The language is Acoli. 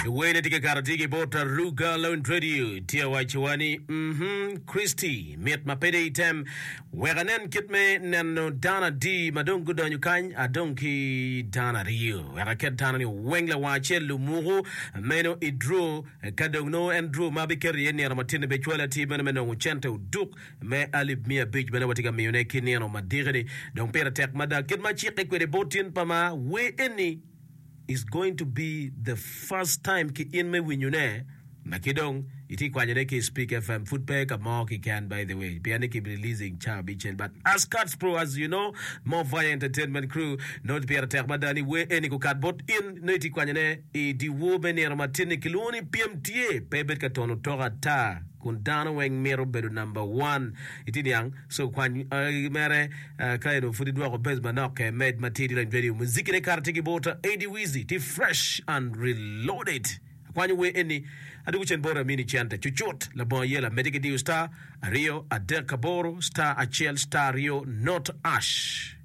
Wene tye ka kato tye ki bot Aruga Lounge Radio tye awacowa ni mhm Christy mit ma pede item wek anen kit me neno dano adi ma dong gudonyo kany adong ki dano aryo wek aket dano ni weng lawang acel lumuku meno i draw ka dong nongo en draw ma abiketo iye nino matinni be cwalo atir meno me nongo cente oduk me alip miya abic bene watye ka miyone ki nino madiki-ni. Dong pire tek mada kit ma acikke kwede bot tin pa ma wer eni is going to be the first time ki in me winyone ma ki dong itye kwanyone ki i Speak FM pud pe ka mo kiken by the way pien ni ki releasing ca abicel but as Kats Pro as you know more fire entertainment crew nongo pire tek mada ni wer eni gukat bot in nongo itye kwanyone i dyewor me nino matin-ni kilwongo ni pyem tye pe ibed ka tono otoka ata kun dano weng mito bedo number one itye niang so kwany mere ka eno pud idwoko base manok ke med matidi lony radio muziki ne kara tye ki bota Eddie Wizzy tye fresh and reloaded akwanyo wer eni adwogo cen bota amini cente cucut labongo ayela mede ki diyo star aryo adek aboro star acel star aryo not ash.